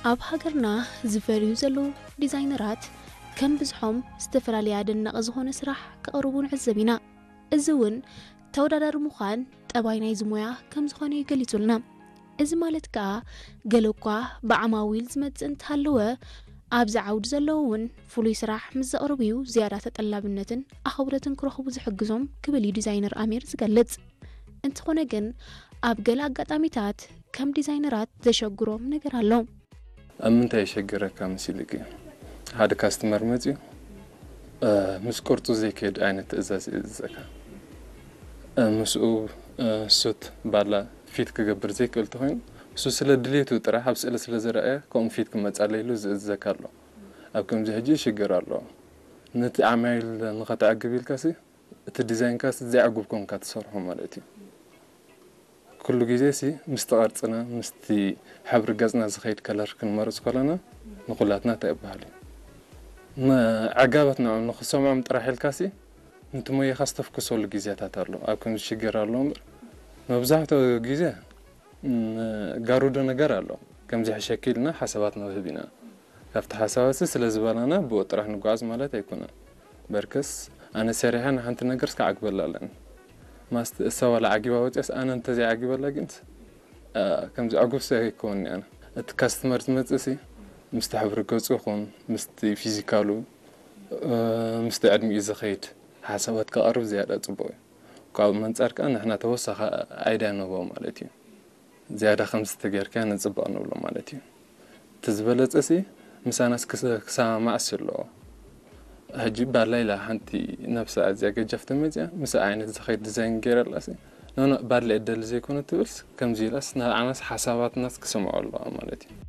ኣብ ሃገርና ዝፈርዩ ዘለዉ ዲዛይነራት ከም ብዝሖም ዝተፈላለየ ኣደናቒ ዝኾነ ስራሕ ከቕርቡ ንዕዘብ ኢና። እዚ እውን ተወዳዳሪ ምዃን ጠባይ ናይዚ ሞያ ከም ዝኾነ እዩ ገሊጹልና። እዚ ማለት ከኣ ገለ እኳ ብዓማዊል ዝመጽእ እንተሃለወ ኣብዚ ዓውዲ ዘለዉ እውን ፍሉይ ስራሕ ምስ ዘቕርቡ እዩ ዝያዳ ተጠላብነትን ኣኽብሮትን ክረኽቡ ዝሕግዞም ክብል እዩ ዲዛይነር ኣሚር ዝገልጽ። እንተኾነ ግን ኣብ ገለ ኣጋጣሚታት ከም ዲዛይነራት ዘሸግሮም ነገር ኣሎ። ኣብ ምንታይ የሸግረካ መሲልኪ? ሓደ ካስተመር መጺኡ ምስ ቅርጹ ዘይከይድ ዓይነት ትእዛዝ ይእዝዘካ። ምስኡ ሱት ባላ ፊት ክገብር ዘይክእል ተኾይኑ እሱ ስለ ድሌቱ ጥራሕ ኣብ ስእሊ ስለ ዝረኣየ ከምኡ ፊት ክመጻለይ ኢሉ ዝእዝዘካ ኣሎ። ኣብ ከምዚ ሕጂ ሽግር ኣሎ። ነቲ ዓማይል ንኸተዕግብ ኢልካሲ እቲ ዲዛይንካሲ ዘየዕጉብ ኮንካ ትሰርሖ ማለት እዩ። ኩሉ ግዜ ሲ ምስቲ ቅርጽና ምስቲ ሕብሪ ገጽና ዝኸይድ ከለር ክንመርጽ ከለና ንኹላትና እንታይ ይበሃል እዩ። ንዕጋበት ንዕኦም ንኽሰምዖም ጥራሕ ኢልካ ሲ ነቲ ሞያኻ ዝተፍኩሰሉ ግዜታት ኣሎ። ኣብ ከምዚ ሽግር ኣሎ እምበር መብዛሕትኡ ግዜ ጋሩዶ ነገር ኣሎ። ከምዚ ሕሸኪ ኢልና ሓሳባት ንህብ ኢና። ካብቲ ሓሳባት ሲ ስለ ዝበላና ብኡ ጥራሕ ንጓዓዝ ማለት ኣይኮነን። በርከስ ኣነ ሰሪሐ ንሓንቲ ነገር እስከ ዓግበላ ኣለኒ። ማስት እሳ ዋላ ዓጊባ ወፂኣስ ኣነ እንተዘይዓጊበላ ግን ከምዚ ዕጉብ ሰብ ኣይከውን ኣነ። እቲ ካስተመር ዝመፅእ ሲ ምስቲ ሕብሪ ገፁ ይኹን ምስቲ ፊዚካሉ ምስቲ ዕድሚኡ ዝኸይድ ሓሳባት ከቕርብ ዝያዳ ፅቡቕ እዩ። ካብኡ መንፃር ከዓ ንሕና ተወሳኺ ኣይድያ ንህቦ ማለት እዩ። ዝያዳ ከምዚ ተጌርካ ንፅባቕ ንብሎ ማለት እዩ። እቲ ዝበለፀ ሲ ምሳናስ ክሰማማዕስ ኣለዎ። ሕጂ ባላ ኢላ ሓንቲ ነብሳ ኣዝያ ገጃፍ ተመፅያ ምስ ዓይነት ዝኸይድ ዲዛይን ገይረላ ሲ ኖኖ ባላ እደሊ ዘይኮነ ትብልስ ከምዚ ኢላስ ንዓናስ ሓሳባትናስ ክሰምዖ ኣለዋ ማለት እዩ።